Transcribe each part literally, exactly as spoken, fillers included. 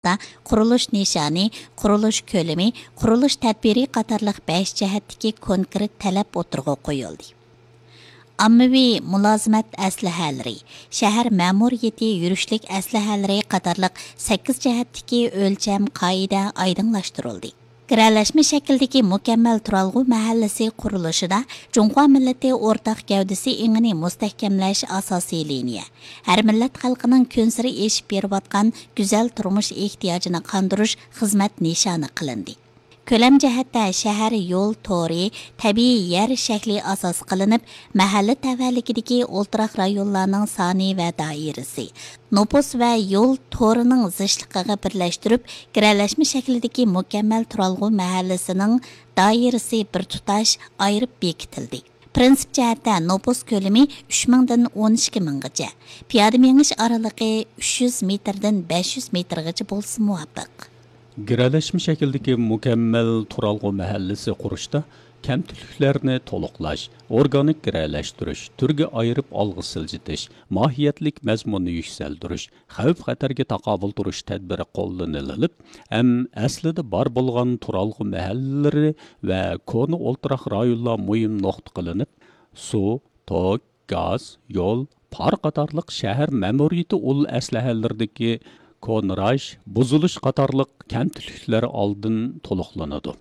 قۇرۇلۇش نىشانى، قۇرۇلۇش كۆلىمى، قۇرۇلۇش تەدبىرى قاتارلىق بەش جەھەتتىكى كونكرېت تەلەپ ئوتتۇرىغا قويۇلدى. ئاممىۋى مۇلازىمەت ئەسلىھەلىرى، شەھەر مەمۇرىيىتى يۈرۈشلۈك ئەسلىھەلىرى قاتارلىق سەككىز جەھەتتىكى ئۆلچەم قائىدە ئايدىڭلاشتۇرۇلدى. گىرەلەشمە شەكلىدىكى مۇكەممەل تۇرالغۇ مەھەللىسى قۇرۇلۇشىدا جۇڭخۇا مىللىتى ئورتاق گەۋدىسى ئېڭىنى مۇستەھكەملەش ئاساسىي لىنىيە، ھەر مىللەت خەلقىنىڭ كۈنسېرى ئېشىپ بېرىۋاتقان گۈزەل تۇرمۇش ئېھتىياجىنى قاندۇرۇش خىزمەت نىشانى قىلىندى. كۆلەم جەھەتتە شەھەر يول تورى، تەبىئىي يەر شەكلى ئاساس قىلىنىپ، مەھەللە تەۋەلىكىدىكى ئولتۇراق رايونلارنىڭ سانى ۋە دائىرىسى، نوپۇس ۋە يول تورىنىڭ زىچلىقىغا بىرلەشتۈرۈپ، گىرەلەشمە شەكلىدىكى مۇكەممەل تۇرالغۇ مەھەللىسىنىڭ دائىرىسى بىر تۇتاش ئايرىپ بېكىتىلدى. پىرىنسىپ جەھەتتە نوپۇس كۆلىمى ئۈچ مىڭدىن ئون ئىككى مىڭغىچە، پىيادە مېڭىش ئارىلىقى ئۈچ يۈز مېتىردىن بەش يۈز مېتىرغىچە بولسا مۇۋاپىق. گىرەلەشمە شەكىلدىكى مۇكەممەل تۇرالغۇ مەھەللىسى قۇرۇشتا كەمتۈكلۈكلەرنى تولۇقلاش، ئورگانىك گىرەلەشتۈرۈش، تۈرگە ئايرىپ ئالغا سىلجىتىش، ماھىيەتلىك مەزمۇننى يۈكسەلدۈرۈش، خەۋپ-خەتەرگە تاقابىل تۇرۇش تەدبىرى قوللىنىلىپ، ھەم ئەسلىدە بار بولغان تۇرالغۇ مەھەللىلىرى ۋە كونا ئولتۇراق رايونلار مۇھىم نۇقتا قىلىنىپ، سۇ، توك، گاز، يول، پار قاتارلىق شەھەر مەمۇرىيىتى ئۇل ئەسلىھەلىرىدىكى كونىراش، بۇزۇلۇش قاتارلىق كەمتۈكلۈكلەر ئالدىن تولۇقلىنىدۇ.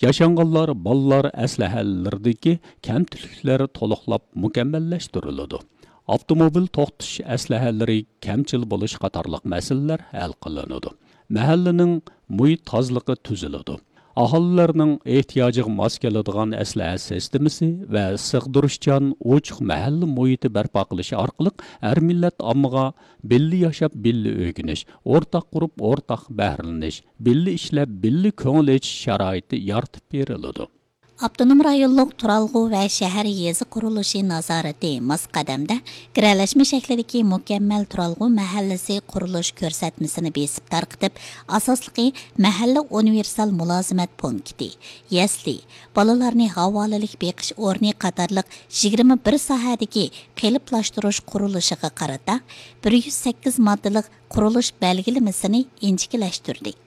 ياشانغانلار، بالىلار ئەسلىھەلىرىدىكى كەمتۈكلۈكلەر تولۇقلاپ مۇكەممەللەشتۈرۈلىدۇ. ئاپتوموبىل توختىتىش ئەسلىھەلىرى كەمچىل بولۇش قاتارلىق مەسىلىلەر ھەل قىلىنىدۇ. مەھەللىنىڭ مۇھىت تازىلىقى تۈزۈلىدۇ. ئاھالىلەرنىڭ ئېھتىياجىغا ماس كېلىدىغان ئەسلىھە سىستېمىسى ۋە سىغدۇرۇشچان، ئوچۇق مەھەللە مۇھىتى بەرپا قىلىش ئارقىلىق ھەر مىللەت ئاممىغا بىللە ياشاپ، بىللە ئۆگىنىش، ئورتاق قۇرۇپ، ئورتاق بەھرىلىنىش، بىللە ئىشلەپ، بىللە كۆڭۈل ئېچىش شارائىتى يارىتىپ بېرىلىدۇ. ئاپتونوم رايونلۇق تۇرالغۇ ۋە شەھەر يېزا قۇرۇلۇشى نازارىتى ماس قەدەمدە گىرەلەشمە شەكلىدىكى مۇكەممەل تۇرالغۇ مەھەللىسى قۇرۇلۇش كۆرسەتمىسىنى بېسىپ تارقىتىپ، ئاساسلىقى مەھەللە ئۇنىۋېرسال مۇلازىمەت پونكىتى، يەسلى، بالىلارنى ھاۋالىلىك بېقىش ئورنى قاتارلىق يىگىرمە بىر ساھەدىكى قېلىپلاشتۇرۇش قۇرۇلۇشىغا قارىتا بىر يۈز سەككىز ماددىلىق قۇرۇلۇش بەلگىلىمىسىنى ئىنچىكىلەشتۈردى.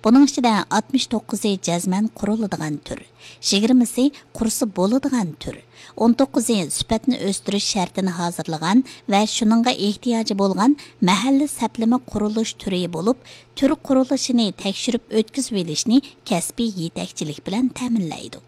بۇنىڭ ئىچىدە ئاتمىش توققۇزى جەزمەن قۇرۇلىدىغان تۈر، يىگىرمىسى قۇرسا بولىدىغان تۈر، ئون توققۇزى سۈپەتنى ئۆستۈرۈش شەرتىنى ھازىرلىغان ۋە شۇنىڭغا ئېھتىياجى بولغان مەھەللە سەپلىمە قۇرۇلۇش تۈرى بولۇپ، تۈر قۇرۇلۇشىنى تەكشۈرۈپ ئۆتكۈزۈۋېلىشنى كەسپىي يېتەكچىلىك بىلەن تەمىنلەيدۇ.